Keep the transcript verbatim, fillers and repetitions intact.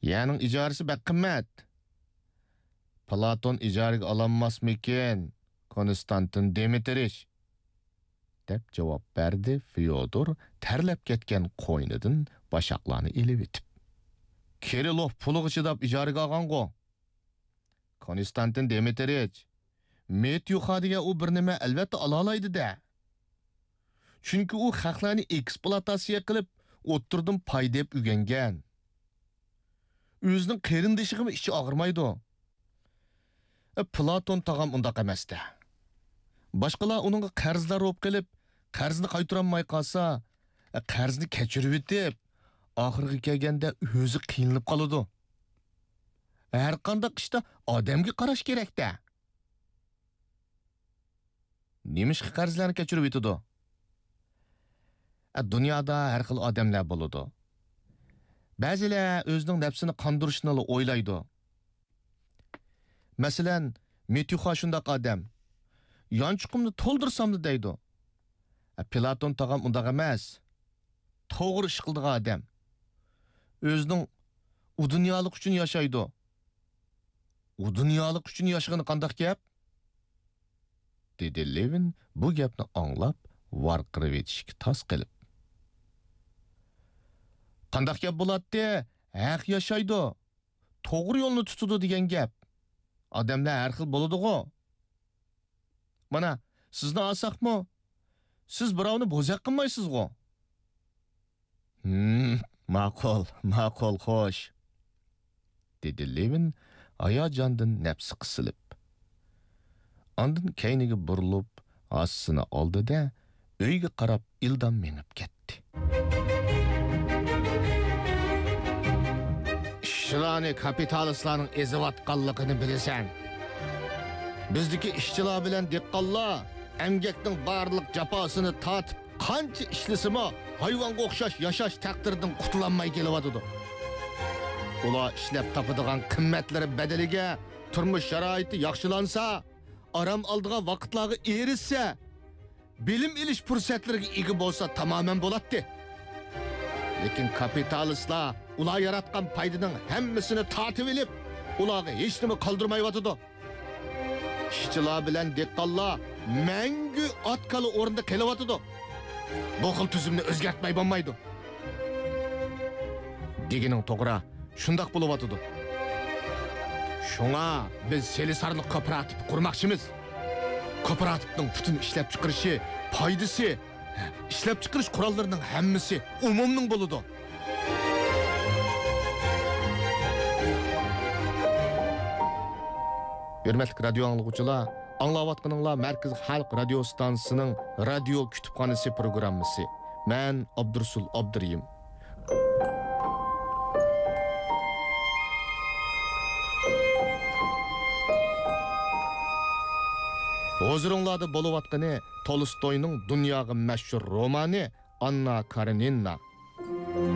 يەرنىڭ ئىجارىسى بەك قىممەت. پلاتون ئىجارىگە ئالالماسمىكىن، كونستانتىن دىمىترىچ؟ دەپ جاۋاب بەردى فيودور تەرلەپ كەتكەن قوينىدىن باشاقلارنى ئېلىۋېتىپ. كىرىلوف پۇلىغا چىداپ ئىجارىگە ئالغانغۇ. كونستانتىن دىمىترىچ، مېتيۇخا دېگەن ئۇ بىر نېمە ئەلۋەتتە ئالالايدۇ-دە. چۈنكى ئۇ خەقلەرنى ئېكسپلۇئاتاتسىيە قىلىپ، ئوتتۇرىدىن پايدا ئېلىپ ئۆگەنگەن. ئۆزىنىڭ قېرىندىشىغىمۇ ئىچى ئاغرىمايدۇ. ئە، پلاتون تاغام ئۇنداق ئەمەس-دە. باشقىلار ئۇنىڭغا قەرزدار بولۇپ قېلىپ، قەرزنى قايتۇرالماي قالسا، ئە، قەرزنى كەچۈرۈۋېتىپ، ئاخىرىغا كەلگەندە ئۆزى قىينىلىپ قالىدۇ. ھەرقانداق ئىشتا ئادەمگە قاراش كېرەك-دە. نېمىشقا قەرزلەرنى كەچۈرۈۋېتىدۇ؟ ئە، دۇنيادا ھەر خىل ئادەملەر بولىدۇ. بەزىلەر ئۆزىنىڭ نەپسىنى قاندۇرۇشنىلا ئويلايدۇ. مەسىلەن، مېتيۇخا شۇنداق ئادەم. يانچۇقۇمنى تولدۇرساملا دەيدۇ. ئە، پلاتون تاغام ئۇنداق ئەمەس. توغرا ئىش قىلىدىغان ئادەم. ئۆزىنىڭ ئۇ دۇنيالىق ئۈچۈن ياشايدۇ. ئۇ دۇنيالىق ئۈچۈن ياشىغىنى قانداق گەپ؟ دېدى لېۋىن بۇ گەپنى ئاڭلاپ ۋارقىرىۋېتىشكە تاس قېلىپ. قانداق گەپ بولاتتى؟ ھەق ياشايدۇ، توغرا يولنى تۇتىدۇ دېگەن گەپ. ئادەملەر ھەر خىل بولىدىغۇ. مانا، سىزنى ئالساقمۇ، سىز بىراۋنى بوزەك قىلمايسىزغۇ؟ ھىم، ماقۇل، ماقۇل، خوش، دېدى لېۋىن ھاياجاندىن نەپسى قىسىلىپ. ئاندىن كەينىگە بۇرۇلۇپ، ھاسىسىنى ئالدى-دە، ئۆيگە قاراپ ئىلدام مېڭىپ كەتتى. ئىشچىلارنى كاپىتالىستلارنىڭ ئېزىۋاتقانلىقىنى بىلىسەن. بىزدىكى ئىشچىلار بىلەن دېھقانلار ئەمگەكنىڭ بارلىق جاپاسىنى تارتىپ، قانچە ئىشلىسىمۇ، ھايۋانغا ئوخشاش ياشاش تەقدىرىدىن قۇتۇلالماي كېلىۋاتىدۇ. ئۇلار ئىشلەپ تاپىدىغان قىممەتلىرى بەدىلىگە تۇرمۇش شارائىتى ياخشىلانسا، ئارام ئالىدىغان ۋاقىتلارغا ئېرىشسە، بىلىم ئېلىش پۇرسەتلىرىگە ئىگە بولسا تامامەن بولاتتى. لېكىن كاپىتالىستلار ئۇلار ياراتقان پايدىنىڭ ھەممىسىنى تارتىۋېلىپ، ئۇلارغا ھېچنېمە قالدۇرمايۋاتىدۇ. ئىشچىلار بىلەن دېھقانلار مەڭگۈ ئات-كالا ئورنىدا قېلىۋاتىدۇ. بۇ خىل تۈزۈمنى ئۆزگەرتمەي بولمايدۇ. دېگىنىڭ توغرا، شۇنداق بولۇۋاتىدۇ. شۇڭا بىز سېلىسارلىق كوپىراتىپى قۇرماقچىمىز. كوپىراتىپنىڭ پۈتۈن ئىشلەپچىقىرىشى، پايدىسى، ئىشلەپچىقىرىش قوراللىرىنىڭ ھەممىسى ئومۇمنىڭ بولىدۇ. ھۆرمەتلىك رادىيو ئاڭلىغۇچىلار، ئاڭلاۋاتقىنىڭلار مەركىزىي خەلق رادىيو ئىستانسىسىنىڭ رادىيو كۇتۇپخانىسى پروگراممىسى. مەن ئابدۇرۇسۇل ئابدۇرېھىم. ھۇزۇرۇڭلاردا بولۇۋاتقىنى تولستوينىڭ دۇنياغا مەشھۇر رومانى ئاننا كارېنىنا.